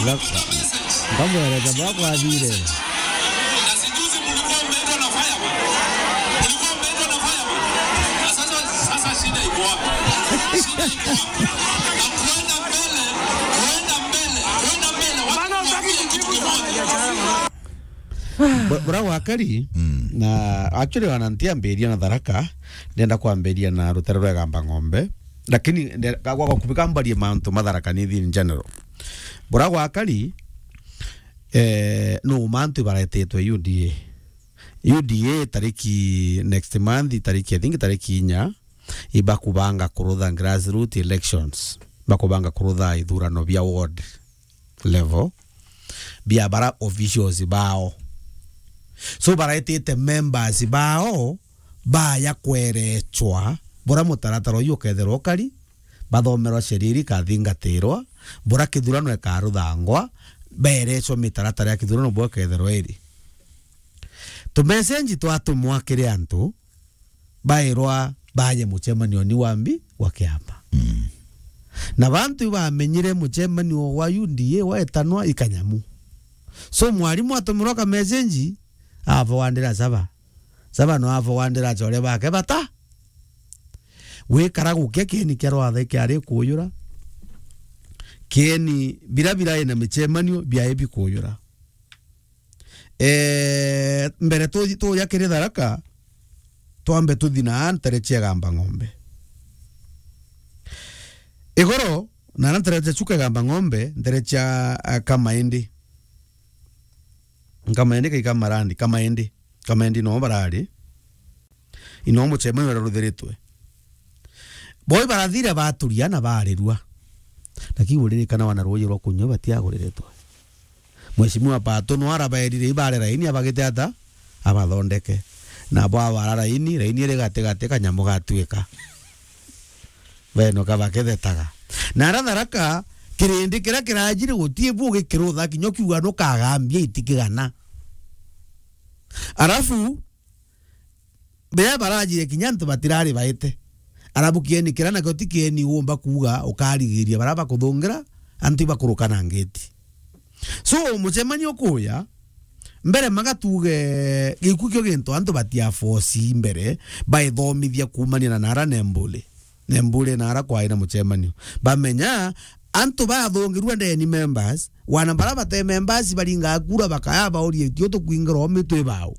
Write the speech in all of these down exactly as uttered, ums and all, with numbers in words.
Ngamwereza bwa kwathire. Na si juzi mlikuwa mmeitwa na fireman. Mlikuwa mmeitwa na fireman. Na sasa, sasa shida iko wapi? Shida iko wapi? Na kuenda mbele, kuenda mbele, kuenda mbele. Watu waambie kitu kimoja. Bu-, bura gwakari, na actually wana ntiambiria na Tharaka, ndenda kwambiria na rutere rwa Igamba Ng'ombe, lakini nde-, ga-, gwa gakubi kambarie mantu ma Tharaka Nithi in general. Bura gwakari, eh, no mantu ibaretetwe U D A. U D A tariki next month, tariki, I think tariki inya, ibakubanga kurutha grassroots elections. Bakubanga kurutha ithurano bia ward level bia bara officials bao. So baraitite members bao baya kwerechwa bura mutaratara uyu ukethirwa ukari, bathomerwa sheria iri ikathingatirwa, bura kithurano ikaruthangwa, berechwa mitaratara ya kithurano bwa ikethirwa iri. Tumesenji twatumwa kiri antu, bairwa baje mucemanioni wa mbi wa kiama. Mm. Na bantu ibamenyire mucemanio wa U D A wetanwa ikanyamu. So mwarimu atumirwa ka message, avowandira Saba. Saba no avowandira achore bake bata. Wikara gukia kieni kia rwatha kiari kuyura. Kieni bira bira ina micemanio biae bikuyura. Eh, mbere tu-, tuja kiri Tharaka, twambe tuthi na ntere cia Igamba Ng'ombe. Igoro, na na ntere cia Chuka Igamba Ng'ombe, ntere cia, ah, Kamaindi. Kamaindi kai Kamarandi, Kamaindi. Kamaindi no barari. Ino mucemanio uraruthiritwe. Boi barathire baturia na barirua. Lakini uririkana wana ruuji rwa kunyua batiaguriritwe. Mheshimiwa Pato no arabaerire ibare raini abagite ata? Abathondeke. Na bo abara raini, raini iri gati gati kanyamu gatuika. Beno kabakethetaga. Na ara Tharaka, kirindi kiria kirajire gutie bu gikirutha kinya ukiuga nukagambia itikigana. Arafu, bea barajire kinya antu batirari baite. Arabu kieni kira nakio ti kieni uumba kuuga ukarigiria bara bakuthungira, antu ibakuruka na ngeti. So, mucemanio ukuya, mbere magatuge gikuu kio gintu antu batiafosi mbere, baithomithia kuumania na nara nembule. Nembule nara kwai na mucemanio. Bamenya, antu bathungirua ndeni members, wana bara bate members baringa kura bakaya baurie, "Tio tukwingira o mitwe bao."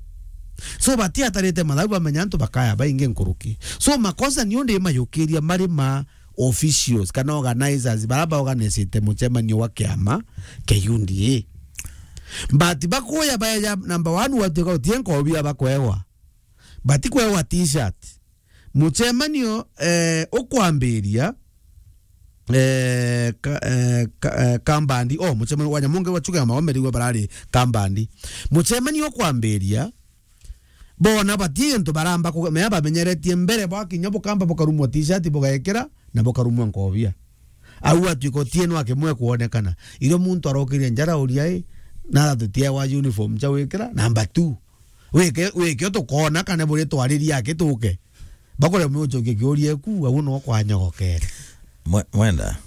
So, batiatarite mathabu bamenya antu bakaya baingi nkuruki. So, makosa ni undi mayukiria mari ma officials kana organizers bara ba organizete mucemanio wa kiama kia U D A. But bakuya baeja number one watuika utie nkobia bakwewa. Batikwewa t-shirt. Mucemanio, eh, ukwambiria, eh, ka-, eh, ka-, eh, Kambandi. Oh, mucemanio wa Nyamonge wa Chuka ya Maomeri we barari Kambandi. Mucemanio ukwambiria, bona batie gintu baramba ku-, mea bamenyeretie mbere bwa kinya bukamba bukarumwa t-shirt bugekira na bukarumwa nkobia. Au atuika utieno akimwe kuonekana. Irio muntu arokirie njara uria i, na tutie wa uniform cha wikira, number two. Wike, wike tukona kana buri twariria akituke. Bakore mucokie kiuria ku, au no kwanyogokere. Mwe-, mwenda.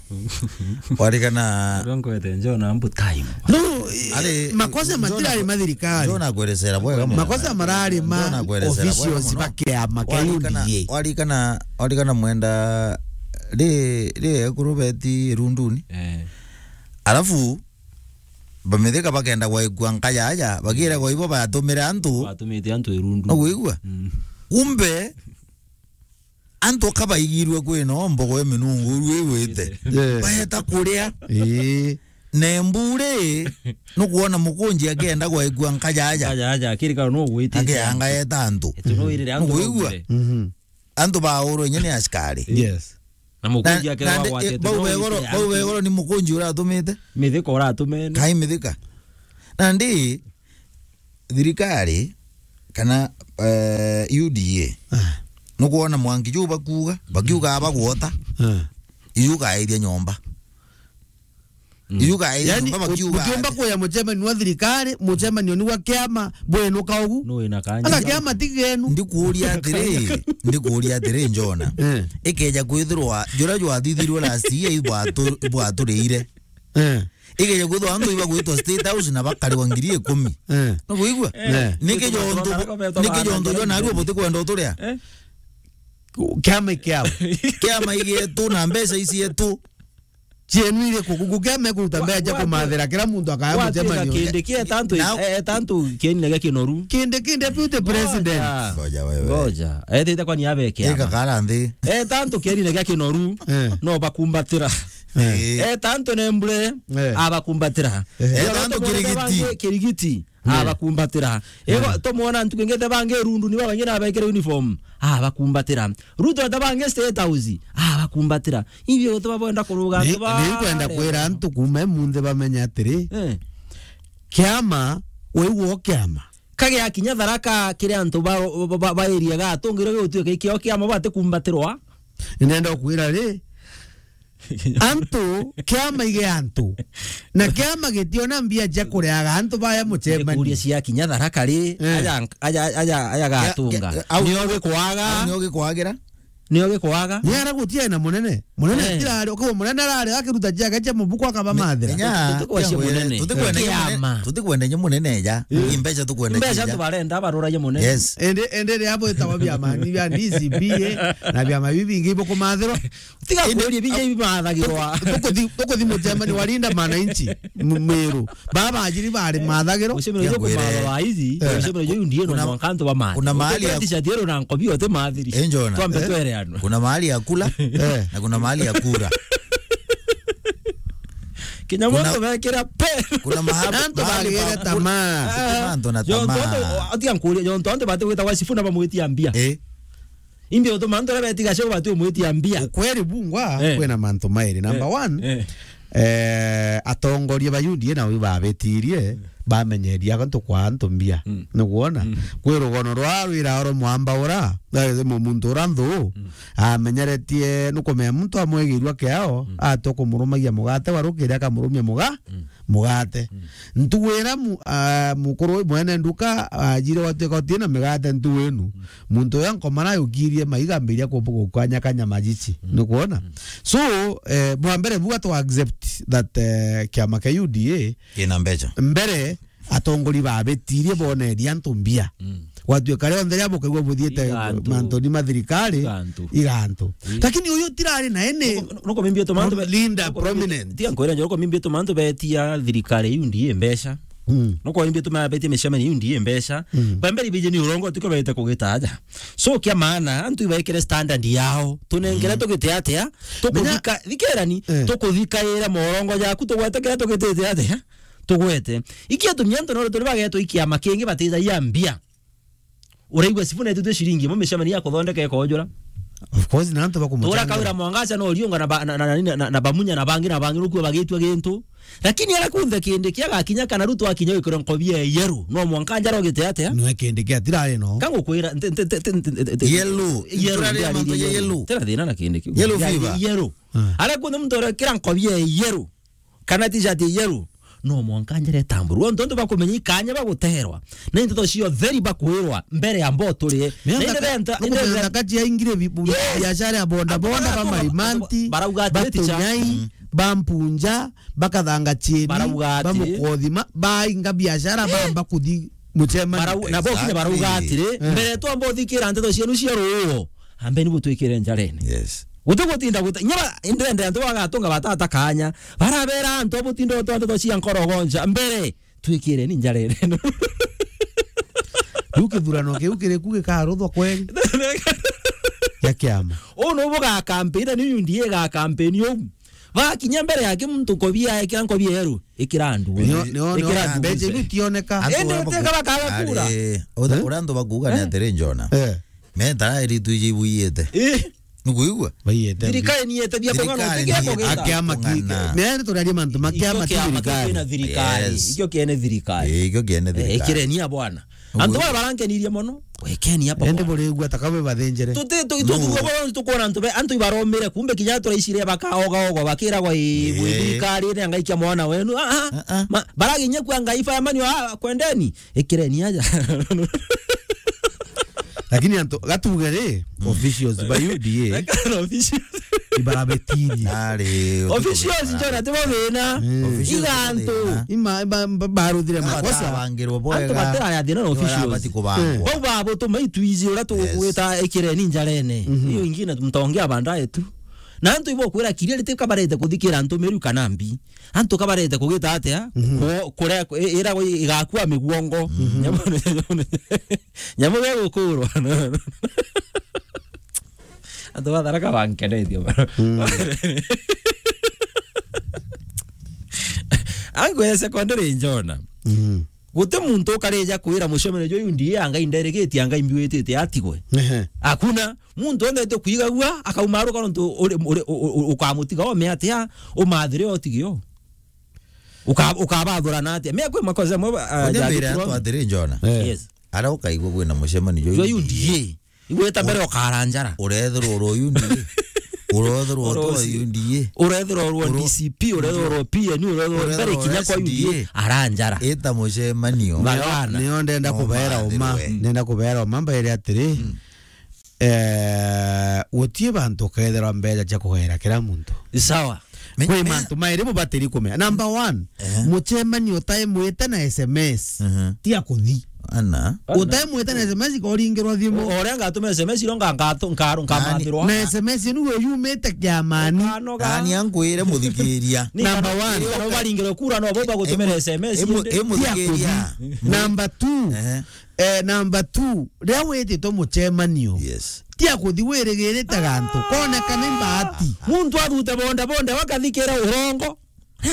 Warikana. Uria nkwete Njona mbu time. No, i-, Ari, makosa Njona matirari kwe-, ma thirikari. Njona kweresera bwega muno. Makosa marari ma Njona kweresera bwega officials muno. Ba kiama kia Warikana, U D A. Warikana, warikana mwenda ri, ri ekuru beti runduni. Eh. Alafu, bamithika bakenda gwaikua nkajaja, bagira gwa ibo batumire antu. Batumite antu irundu. Nugwigua? Mm. Kumbe, antu kabaigirwe kwina mbogo ya minungu ru igwite. Yeah. Baeta kuria. Ii. Na embure, nukwona mukunji akienda gwaikua nkajaja. Nkajaja, akirikana no gwite. Akianga eta antu. Etu no irire antu. Nugwigua? Baugire. Mhm. Antu baurwe inya ni askari. Yes. Na mukunji Na, akirwa na, gwate, eh, bau begoro, bau begoro ni mukunji uratumite? Mithika uratumene. Kai mithika. Na ndi thirikari kana, eh, U D A. Ah. Nukwona mwanki juu bakuuga, bakiuga abagwota. Ah. Iu kairia nyomba. Mm. Iu kairia nyomba bakiuga. Yani, ukiumba kuya mucemanio wa thirikari, mucemanio ni wa kiama, bwenuka ugu. No ina kanya. Ata kiama ti genu. Ndikuuria atiri, ndikuuria atiri, Njona. Eh. Ikeja kwithirwa, jura jwathithirwe last year ibwatu-, ibwaturire. Eh. Igeje kwithwa antu iba gwitwa State House na bakarigwa ngiri ikumi. Eh. No kuigua? Eh. Niki jontu, niki jontu jo narua butikwenda uturia? Eh. Kiama ikiao. Kiama igietu na mbeca icietu. Cienu iriku? Guku kiama ikuruta mbeca cia kumathira kira muntu akaya mucemanio. Kindi kia etantu, na etantu kieni na gia kinoru. Kindi, kindi deputy president. Ngoja. Ngoja wewe. Ngoja. Etite kwani abekia. Ika kara nthi. Etantu kieni na gia kinoru. Eh. No bakumbatira. Eh. Etantu nembure. Eh. Abakumbatira. Eh. Etantu kirigiti. Kirigiti. Mm. Abakumbatira. Ego, mm, tomwona ntuku ingite bangi rundu ni babaingi na bekire uniform. Abakumbatira. Ruto ata bangi State House. Abakumbatira. Ibio gutuma bwenda kuruga. Ni, antu ba ni kwenda kwira antu kuma munthi bamenye atiri. Eh. Kiama, we uo kiama. Kage akinya Tharaka kiri antu ba, ba, ba, ba area ga tungire gutwika ikio kiama batikumbatirwa. Nenda kwira ri, antu, kiama ige antu. Na kiama gitiona mbia cia kuriaga antu baya mucemanio. Kuria cia kinya Tharaka ri, eh, aja, aja, aja, aja gatunga. Kia-, kia-, au nio gikwaga. Au nio gikwagira? Nio gikwaga. Ni ara gutie na munene. Munene, eh, tirari, uko munene arari akiruta ciake cia mubuko akaba mathira. Nya, tutikwenda munene. Tutikwenda munene. Kiama. Tutikwenda munene ja. Eh. Imbeca tukwenda. Imbeca ja. Antu barenda baruragia munene. Yes. Ende, ende ria bwitagwa biama, ni bia D C B A, na biama bibi bingi ibukumathirwa. Tiga kuria bingi bimathagirwa. Tukuthi, tukuthi mucemanio wa Linda Mwananchi, m-, Meru. Baba ajiri bari mathagiro. Mucemanio jo kumatha wa izi, eh, mucemanio jo ndiye no mwanka antu bamathe. Kuna mahali ya t-shirt yero na nkobi ote mathiri. Eh, Njona. Twambe twere anwa. Kuna mahali ya kula, eh, na kuna mahali ya kura. Kinya muntu bekira pe. Kuna mahali, antu bagire tamaa. Antu na tamaa. Atia nkuria, jonto antu bate gwita gwa Sifuna bamwitia mbia. Eh. Imbi utuma antu aria betiga cio bati umwitia mbia. Ukweri bungwa, eh, kwina mantu mairi. Number one, eh, eh, atongoria ba U D A nabo babetirie, mm, bamenyeria antu kwa antu mbia. Mm. Niguona? Mm. Kwi rugono rwa rwira oro mwamba ura, eh, mu-, muntu ura nthu, mm, amenyeretie nukumenya muntu amwigirwa kiao, mm, ati ukumurumagia mugate wa rukiri akamurumia muga-, mm, mugate. Mm. Ntugu ira mu-, ah, mukuru mwene nduka ajire gwatuika utina migate ntugu inu. Mm. Muntu uyu ankomara yukirie maiga ambiria ku-, gukanyakanya majici. Mm. Nukwona? Mm. So, eh, bwa mbere buga tu accept that, eh, kiama kia U D A kina mbeca. Mbere, atongori babetirie boneria antu mbia. Mm. Gwatuika rionthe ria bukaigua buthiite iga antu, mantoni ma thirikari, iga antu. Iga antu. Mm. Lakini uyu tirari na ene. Nuko, nuko mimbi tu mantu be-, Linda nuko mimbi, prominent. Tiga nkwire njo, nuko mimbi tu mantu betia thirikari U D A mbeca. Mm. Nuko mimbi tu mabetia micemanio U D A mbeca. Mm. Bambere ibije ni urongo tuko bete kugitaja. So kia maana, antu ibaikire standard yao. Tunengere, mm, tugite atia? Menya tukuthika, thikirani, eh, tukuthikaira morongo jaku tugwete kira tugitite atia? Tugwete. Ikia tumia antu no turi bagetwa ikiama kingi batijagia mbia. Uraigua Sifuna etitwe ciringi imwe micemanio ya kuthondeka ikojura. Of course, na antu bakumuchanga. Tura Kawira Mwangaza no Oriunga na ba-, na, na, na, na, na Bamunya na bangi na bangi nukua bagitua gintu. Lakini ara kunthe kindi kia gakinya kana Ruto akinya wikira nkobi ya yellow, no mwanka njara ugite atia? No kindi kia tirari no. Kangukwira, nte, nte, nte, nte, nte, nte, yellow. Yellow, nturaria ndirari mantu ya yellow. Yellow. Tena thina na kindi kiu. Yellow fever. Yellow. Ah. Ara kunthe muntu urekira nkobi ya yellow. Kana t-shirt ya yellow, no mwanka njara itamburwa. Ontu, ontu bakumenya ikanya baguterwa. Na into cio theri bakwirwa mbere ya mbo turie. Na inde benta, inde benta kati ya ingire bi-, bu-, yes, biashara ya boda boda, ba marimanti, barauga atiri, ba ticha. Tunyai, mm, ba mpunja, bakathanga chieni, barauga atiri, ba mukothima, bainga biashara, eh, bamba kuthi muchemani. Barau-, na bo kinya barauga atiri, exactly, eh, mbere twamba uthikira nteto cienu cia ruo, ambeni butwikire njarene. Yes. Guti gutinda guta-, inya ba-, indende antu bagatunga batata kanya. Barabera antu abutinde utwa nteto cia nkorogoncha. Mbere, twikireni njarene. Riu kithurano kiu kiriku gikaruthwa kweri? Ya kiama. Uu nubu gakampeni, na ni U D A gakampeni uu. Bakinya mbere yake muntu nkobi aekira nkobi yeru, ikira andu. Nio, nio, nio, ikira andu mbeca ibu cioneka. Indi uteka bakaga kura. Ari, utha-, eh? Uria antu bakuga ni atiri, Njona. Eh. Meta iri tu iji ibu iyete. Eh. Nukuigua? Baiyete. Thirikari ni yete bia kung'ana, thirikari utige ni yete kugita. Akiama ki-, kung'ana. Meri turaria mantu ma kiama, ikio kiama thirikari. Kina thirikari. Yes. Ikio kiene thirikari. Eh, ikio kiene thirikari. Eh, ikirenia bwana. Antu bara barankenirie mono. Wekeni hapa. Ende bwana. Burigua taka we bathinjire. Tuti, tu, tu, no. Tukwona, tukwona antu be, antu ibaromire, kumbe kinya turaicire bakaoga ogo, bakiragwa i, eh, thirikari ni angaikia mwana wenu. Ah, ah. Ah, ah. Ma, baraginya kwa ngai fireman, ah, kwendeni. Ikireni aja. Lakini antu, gatuge ri, mm, officials ba U D A. Kana officials. Ibarabetirie. Nari, officials, Njona, tibo thina. Mm. Officials tibo thina. Igantu. Ima, ba, ba, baruthire makosa. Batabangirwo bwega. Antu batiraria thina na officials. Barabati kubangwa. Eh. Bau babutuma itwiji uria tugwita ikireni njarene. Mhm. Iyo ingine mtaongea baadaye tu. Na antu ibo kwira kiria riti kabarete kuthikira antu meru kana mbi. Antu kabarete kugita atia? Mhm. Ku-, kuria, i-, ira igakua miguongo. Mhm. Nyamu, nyamu gegukurwa. Antu ba Tharaka bankenetie bana. Mm. Angu ya secondary Njona. Mm. Guti muntu ukarija kwira mucemanio jwa U D A anga inderegetie anga imbiwitite atigwe. Ehe. Hakuna muntu onde te kwigagua akauma aruka nontu uri, uri, u-, u-, ukamutiga ome atia umathire otigio. Uka-, ukabathurana atia? Mea kwi makosa mo, ah, onde mbere jandikirwo antu atiri Njona. Eh. Yes. Ara ukaigua kwina mucemanio jwa U D A. Igweta mbere ukaranjara. Urethirwo uri U D A. Urethirwo uri U D A. Urethirwo uri D C P, urethirwo uri P N U, urethirwo mbere kinya kwa U D A. Aranjara. Ita mucemanio. Bagana. Nio ndenda kubera uma. Ndenda kubera uma mbaire atiri. Mm. Eh, gutie bantu ukethirwa mbeca cia kugaira kira muntu. Sawa. Kwi mantu mairi bubatiri kumenya. Number one, mucemanio utaimwite na S M S. Tia kuthi. Ana. Utaimwite na S M S ikoringirwa thimu. O-, oria ngatuma S M S iro nga-, ngatu-, nkaru-, nkamathirwa. Na S M S inu yumite kiamani. Ani ankwire muthikiria. Number one. Kana baringirwe kura no bo bagutumira S M S inde. Tia kuthi. Number two, eh, number two, riria wititwe mucemanio, yes, tia kuthi wirigirite gantu, koneka ni mbati. Muntu athute bonda bonda wakathikira urongo.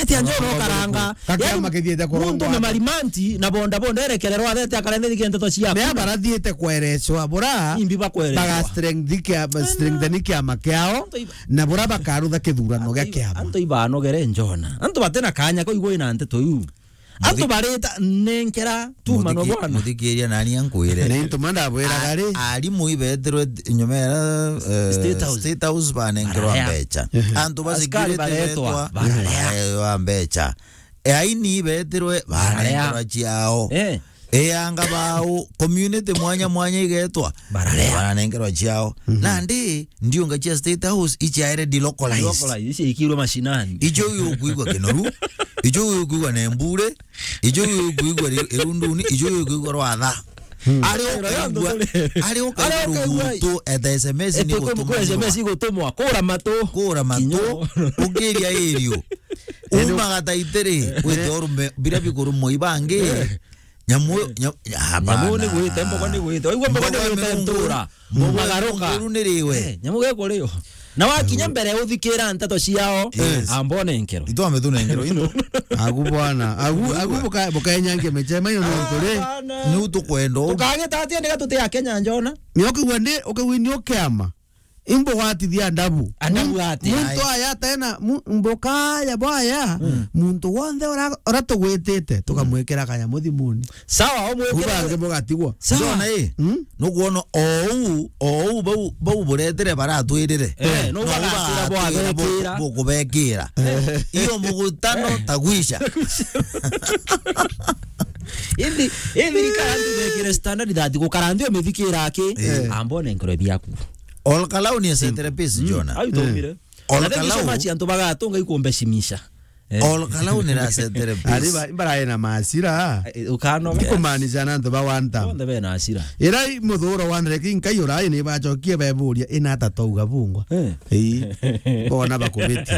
Ati anjo no karanga. Kakiama kithiete kurongwa. Muntu ni marimanti na bonda bonda erekererwa athete akarethethike nteto ciaku. Ni abarathiete kwerecwa bura. Imbi bakwerecwa. Baga strength kia, strengthen kiama kiao. Na bura bakarutha kithurano gia kiama. Antu ibanogere Njona. Antu batena kanya ko igwe na nteto iu. Antu barita nenkera tuma no bwana. Muthikiria nani ankwire. Ni ntuma ndabwiraga ri. Arimu ibetirwe nyuma ya, eh, State House. State House banenkerwa mbecha. Antu basikirite baretwa, barewa mbecha. E aini ibetirwe banenkerwa ciao. Eh. E anga bau, community mwanya mwanya igetwa. Bararea. Banenkerwa ciao. Nandi, ndiunga cia State House, ichiaere delocalized. Delocalized, ichi ikirwe mashinani. Ijo ukwigua Kinoru, ijo ukwigua Nembure, ijo ukwigua ri-, Irunduni, ijo ukwigua Rwatha. Ari ukaigua, ari ukaigua rugutu, eta S M S ni gutumwa. S M S igutumwa, kura matu. Kura matu, ukiria irio. Uma gataitiri, wite orume, bira bikurumwa ibangi. Nyamu, nyamu, hapana. Nyamu ni gwite, mbogo ni gwite. Waigua mbogo ni gwite ntura. Mbogo magaruka. Mbogo ni riwe. Eh, nyamu gekurio. Na wakinya mbere uthikira nteto ciao, yes, ambone nkero. Itwa ametuna nkero into. Agu bwana, agu, agu buka-, bukaenyange mechema iyo no nkore. Ni utukwendo. Tukagita atia ndiga tuti a Kenya Njona? Ni ukigwa ndi, ukigwa ni ukiama. Imbugwatithia ndabu. Andabu ati, muntu aya tena, mu-, mbuka ya bwaya, muntu wonthe ora, ora tugwitite, tukamwikira kanyamu thimuni. Sawa, omwikira. Ubange bugatigwa. Sawa. Njona ii, nukwona ou, ou bau, bau buretere baratwirire. Eh, no bagatira bwabekira. Bukubekira. Iyo mugutano tagwisha. Indi, indi ikara ndu bekire standard that gukara ndu mithikira aki, ambone nkoro biaku. Olkalau ni acentere pisi, Jona. Au tumire. Olkalau. Na thank you so much, antu bagatunga ikumbeshimisha. Eh. Olkalau ni acentere pisi. Ari ba, imbarae na masira. Eh, ukanoga. Yes. Ikumaanisha na antu ba wanta. Bonthe bena asira. Ira i muthuro wa ndereki nkai urai ni bachokie beburia ina ata twauga bungwa. Eh. Ii. Bona bakubiti.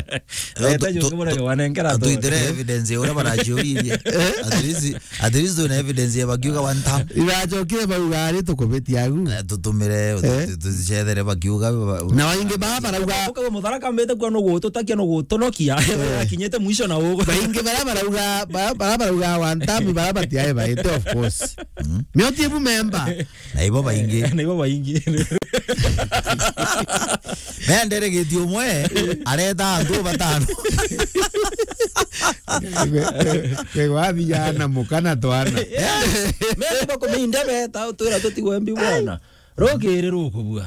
Leta tu-, jungi tu-, murege wanengera tu. Tuitire evidence uria baraciuririe. Eh? At least, at least una evidence ya bakiuga one time. Irachokire bauga ari tukubitia agu. Eh, tutumire, eh? Tu-, tu-, tucethere bakiuga ba-, na waingi baa barauga. Ukaga mutharaka mbete kwa nugu tutakia nugu tunokia. Eh. Akinyete mwisho na ugu. Baingi bara barauga, ba-, bara barauga one time, bara batiae baite, of course. Mm. Mioti ebu memba. Na ibo baingi. Eh, na ibo baingi. Mea nderegetie umwe, areta antu batano. Kwe, kwe, kwe wathia na muka na twana. Yes. Mea ibo kuminde beta, utwira tutigwe mbi bwana. Rugiri rukubua.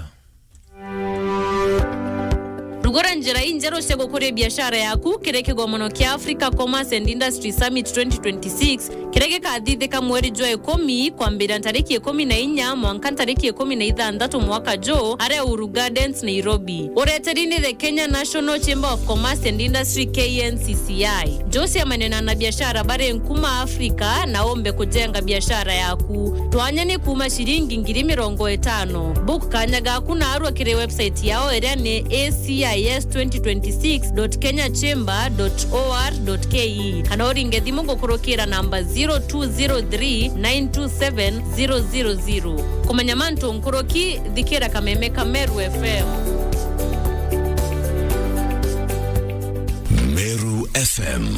Rugura Njira injeru cia gukuria biashara yaku kiri kigomono kia Africa Commerce and Industry Summit twenty twenty-six, kiria gikathithika mweri jwa ikumi, kwambira ntariki ikumi na inya mwanka ntariki ikumi na ithanthatu mwaka juu, aria Uhuru Gardens, Nairobi. Ureteri ni the Kenya National Chamber of Commerce and Industry, K N C C I. Jose amenena na biashara bari nkuma Africa na umbe kujenga biashara yaku. Twanya ni kuuma ciringi ngiri mirongo itano. Book kanya gaku na arua kiri website yao iria ni A C I S twenty twenty-six dot kenya chamber dot O R dot K E, kana uringe thimu gukurukira namba zero two zero three nine two seven zero zero zero. Kumenya mantu nkuruki, thikira kameme ka Meru F M. Meru F M.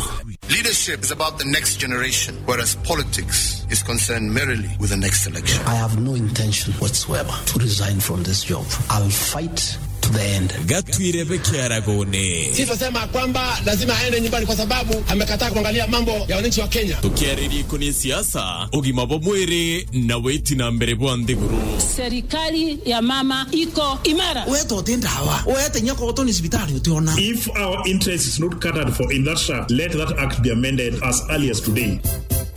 Leadership is about the next generation, whereas politics is concerned merely with the next election. I have no intention whatsoever to resign from this job. I'll fight to the end. Gatwire bekiaragone. Sisi tunasema kwamba lazima aende nyumbani kwa sababu amekataa kuangalia mambo ya wananchi wa Kenya. Tukiariria ikoni siasa, ugima bwa mwiri na witi na mbere bwa nthiguru. Serikali ya mama iko imara. Wetwo ti ndawa. Wete nyoko utoni cibitari utiona. If our interest is not catered for in that shaft, let that act be amended as early as today.